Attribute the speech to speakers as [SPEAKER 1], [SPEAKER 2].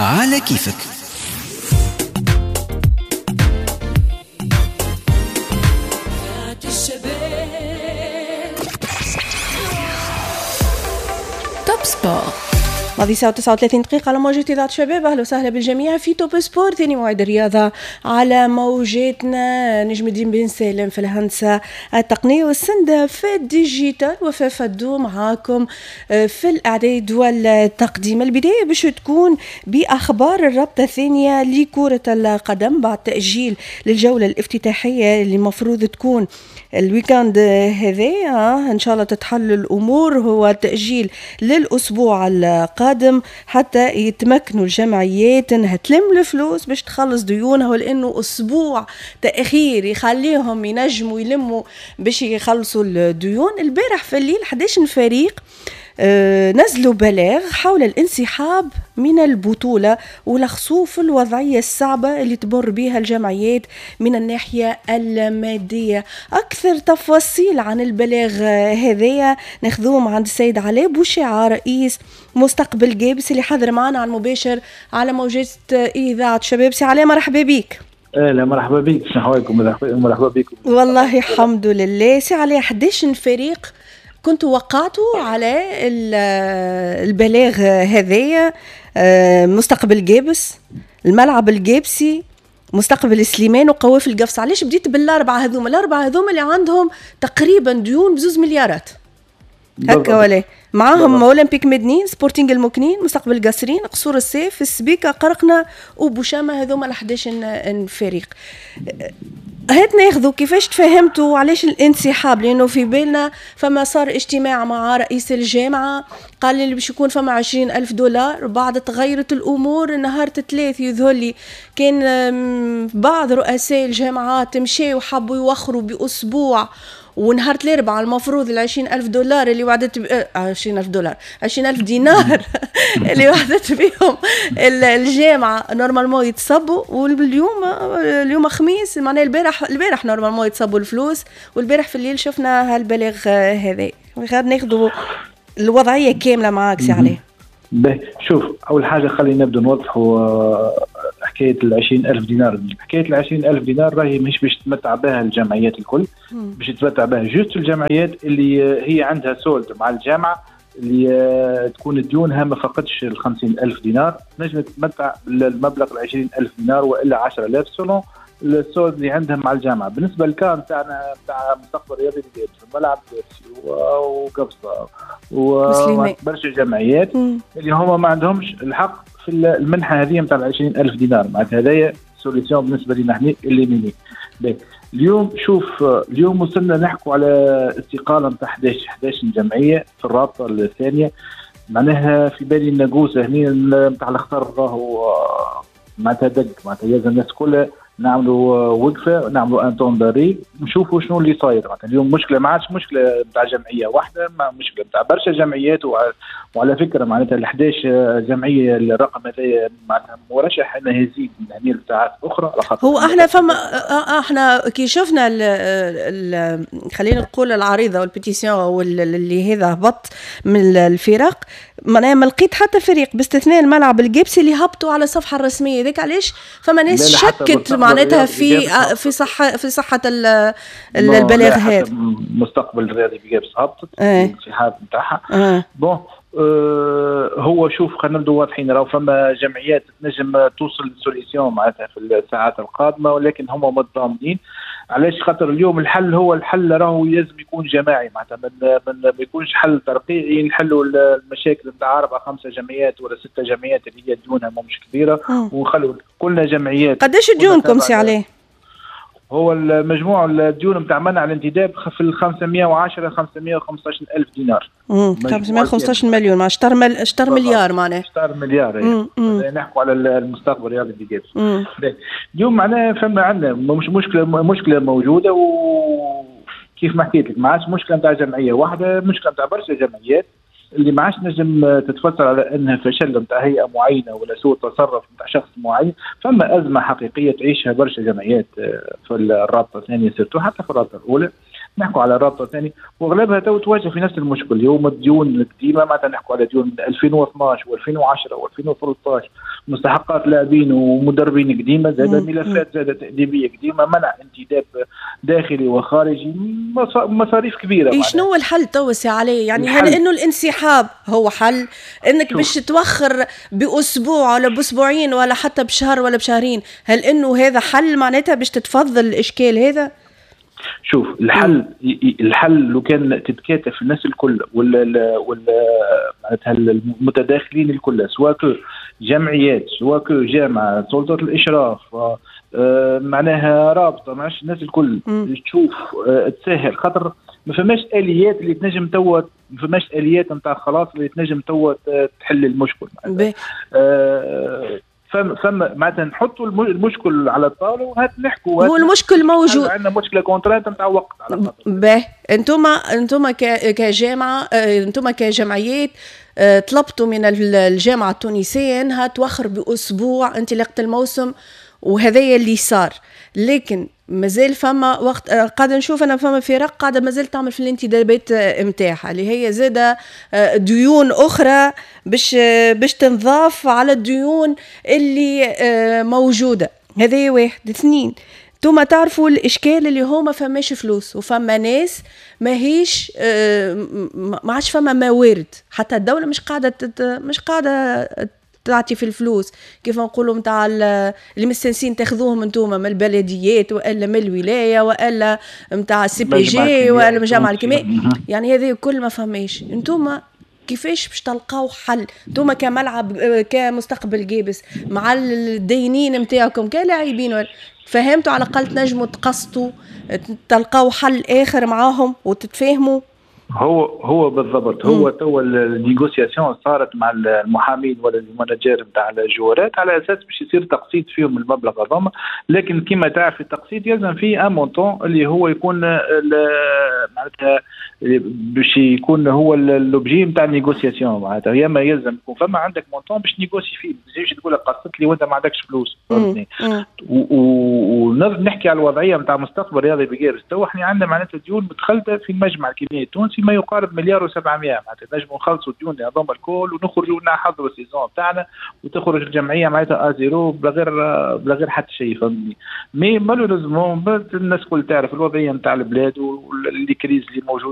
[SPEAKER 1] على كيفك.
[SPEAKER 2] Top Sport.
[SPEAKER 3] ماضي ساعة 39 دقيقة على موجة إذاعة شباب. أهلا وسهلا بالجميع في Top Sport، ثاني موعد الرياضة على موجاتنا. نجم الدين بن سالم في الهندسة التقنية والسندة في ال digital، وفاء فدو معاكم في الإعداد والتقديم. البداية باش تكون بأخبار الرابطة الثانية لكرة القدم بعد تأجيل للجولة الافتتاحية اللي المفروض تكون ال week-end هذا، إن شاء الله تتحل الأمور. هو تأجيل للأسبوع القادم حتى يتمكنوا الجمعيات انها تلم الفلوس باش تخلص ديونها، ولانه اسبوع تاخير يخليهم ينجموا يلموا باش يخلصوا الديون. البارح في الليل 11 فريق نزلوا بلاغ حول الانسحاب من البطولة ولخصوه في الوضعية الصعبة اللي تمر بها الجمعيات من الناحية المادية. أكثر تفاصيل عن البلاغ هذايا ناخذوه عند السيد علاء بوشعة رئيس مستقبل قابس اللي حاضر معنا على المباشر على موجات إذاعة شباب. سي علاء مرحبا بك.
[SPEAKER 4] اهلا مرحبا بك، شنو احوالكم؟ مرحبا بكم.
[SPEAKER 3] والله الحمد لله. سي علاء، 11 فريق كنتوا وقعتوا على البلاغ هذايا، مستقبل قابس، الملعب القابسي، مستقبل سليمان وقوافل القفص. علاش بديت بالاربعة هذوما؟ الاربعة هذوما اللي عندهم تقريبا ديون بزوز مليارات هكا ولا معاهم اولمبيك مدنين، سبورتينغ المكنين، مستقبل قصرين، قصور السيف، السبيكه، قرقنا وبوشامه. هذوما 11 فريق. هات ناخذوا كيفاش تفهمتوا علاش الانسحاب، لانه في بالنا فما صار اجتماع مع رئيس الجامعة قال لي باش يكون فما 20,000 دولار، بعد تغيرت الامور. نهار الثلاث يظهر لي كان بعض رؤساء الجامعات مشاو وحبوا يوخروا باسبوع، ونهار الاربعاء المفروض 20,000 دولار اللي وعدت 20,000 دولار 20,000 دينار اللي وعدت بهم الجامعة normalement يتصبوا. واليوم اليوم خميس، معناها البارح normalement يتصبوا الفلوس، والبارح في الليل شفنا هالبلاغ هذا. غير ناخذوا الوضعية كاملة معاك سي علي.
[SPEAKER 4] باهي، شوف اول حاجة خلينا نبدو نوضحوا حكاية 20,000 دينار. حكاية 20,000 دينار راهي مش باش تتمتع بها الجمعيات الكل، باش تتمتع بها juste الجمعيات اللي هي عندها solde مع الجامعة، اللي تكون ديونها ما فقدش 50,000 دينار، تنجم تتمتع بالمبلغ 20,000 دينار والا 10,000 selon ال solde اللي عندها مع الجامعة. بالنسبة لل cas نتاعنا نتاع مستقبل رياضي القابس، الملعب القابسي وقفصه وبرشا جمعيات اللي هما ما عندهمش الحق في المنحة هذه نتاع 20,000 دينار، معناتها هذايا solution بالنسبة لنا احنا اللي ميني. اليوم شوف، اليوم وصلنا نحكوا على استقالة نتاع 11 جمعية في الرابطة الثانية. معناها في بالي الناقوسه هنا نتاع الخطر راهو معناتها دق، معناتها لازم الناس كلها نعملوا وقفه، نعملوا un temps d'arrêt، نشوفوا شنو اللي صاير. معناتها اليوم مشكلة ما عادش مشكلة نتاع جمعية واحدة، ما مشكلة نتاع برشا جمعيات. وعلى فكرة معناتها ال 11 جمعية الرقم هذا معناتها مرشح انه يزيد من هنا لساعات اخرى.
[SPEAKER 3] هو احنا فما احنا كي شفنا خلينا نقول العريضة وال pétition واللي هذا هبط من الفرق، معناها ما لقيت حتى فريق باستثناء الملعب القابسي اللي هبطوا على الصفحة الرسمية. ذاك علاش فما ناس شكت معناتها في صحة البلاغ هذا.
[SPEAKER 4] مستقبل الرياضي بقابس هبطت الانسحاب نتاعها. bon هو شوف خلينا نبدو واضحين، راهو فما جمعيات تنجم توصل ل solution معناتها في الساعات القادمة، ولكن هما متضامنين. علاش؟ خاطر اليوم الحل هو الحل راهو لازم يكون جماعي، معناتها ما يكونش حل ترقيعي نحلوا المشاكل نتاع 4 5 جمعيات ولا 6 جمعيات اللي هي ديونها مش كبيرة، ونخلوا كلنا جمعيات.
[SPEAKER 3] قداش ديونكم سي عليه؟
[SPEAKER 4] هو المجموع الديون نتاع منع الانتداب في 510 515 ألف دينار.
[SPEAKER 3] 515 مليون، مع شطر مليار معناها.
[SPEAKER 4] شطر مليار. نحكوا على المستقبل الرياضي بقابس. اليوم معناها فما عندنا مش مشكلة موجودة، وكيف ما حكيت لك ما عادش مشكلة نتاع جمعية واحدة، مشكلة نتاع برشا جمعيات اللي ما عادش نجم تتفسر على انها فشل نتاع هيئة معينة ولا سوء تصرف نتاع شخص معين. فما ازمة حقيقية تعيشها برشا جمعيات في الرابطة الثانية surtout حتى في الرابطة الاولى. نحكوا على الرابطة الثانية، واغلبها تو تواجه في نفس المشكل اللي هو الديون القديمه. معناتها نحكوا على ديون 2012 و2010 و2013، مستحقات لاعبين ومدربين قديمه، زاد ملفات زاد تأديبيه قديمه، منع انتداب داخلي وخارجي، مصاريف كبيره.
[SPEAKER 3] إيه، شنو هو الحل تو سي علي؟ يعني هل انه الانسحاب هو حل؟ انك باش توخر باسبوع ولا باسبوعين ولا حتى بشهر ولا بشهرين، هل انه هذا حل معناتها باش تتفضل الاشكال هذا؟
[SPEAKER 4] شوف، الحل لو كان تتكاتف الناس الكل ولا معناتها المتداخلين الكل، سواء que جمعيات، سواء que جامعه، سلطة الاشراف، معناها رابطه، معش الناس الكل تشوف تسهل، خاطر ما فماش اليات اللي تنجم توا، ما فماش اليات نتاع خلاص اللي تنجم توا تحل المشكل. فما معناتها نحطوا المشكل على الطاولة وهات نحكوا.
[SPEAKER 3] هو المشكل موجود.
[SPEAKER 4] عندنا مشكلة contrainte نتاع وقت
[SPEAKER 3] على خاطر به انتم كجامعه، انتم كجمعيات طلبتوا من الجامعة التونسية انها توخر باسبوع انطلاقة الموسم، وهذا اللي صار، لكن مازال فما وقت. قاعدة نشوف انا فما فرق قاعدة مازال تعمل في الانتدابات نتاعها، اللي هي زاده ديون اخرى باش تنضاف على الديون اللي موجوده. هذا واحد. اثنين، انتم تعرفوا الاشكال اللي هو ما فماش فلوس، وفما ناس ماهيش ما عادش فما موارد، حتى الدولة مش قاعدة تعطي في الفلوس كيف نقولوا نتاع اللي مستنسين تاخذوهم انتوما من البلديات والا من الولاية والا نتاع ال CPG والا من الجامعة الكيمياء. يعني هذه كل ما فماش. انتوما كيفاش باش تلقاو حل انتوما كملعب كمستقبل قابس مع الدينين نتاعكم كلاعبين؟ فهمتوا؟ على الاقل تنجموا تقسطوا، تلقاو حل اخر معاهم وتتفاهموا.
[SPEAKER 4] هو هو بالضبط، هو تو ال négociation صارت مع المحامين ولا ال manager نتاع الجوارات على اساس باش يصير تقسيط فيهم المبلغ هذاما، لكن كما تعرف التقسيط يلزم فيه un montant اللي هو يكون معناتها باش يكون هو l'objet نتاع ال négociation. معناتها يا اما يلزم يكون فما عندك montant باش négocier فيه، ما تجيش تقول قسط لي وانت ما عندكش فلوس، فهمتني؟ ونحكي على الوضعية نتاع مستقبل رياضي بقابس، تو احنا عندنا معناتها ديون متخلده في المجمع الكيميائي التونسي ما يقارب مليار و700. معناتها نجموا نخلصوا الديون هذوما الكل ونخرجوا نحضروا ال saison تاعنا وتخرج الجمعية معناتها à zéro، بلا غير حتى شيء، فهمتني؟ mais malheureusement الناس الكل تعرف الوضعية نتاع البلاد و les crises اللي موجوده.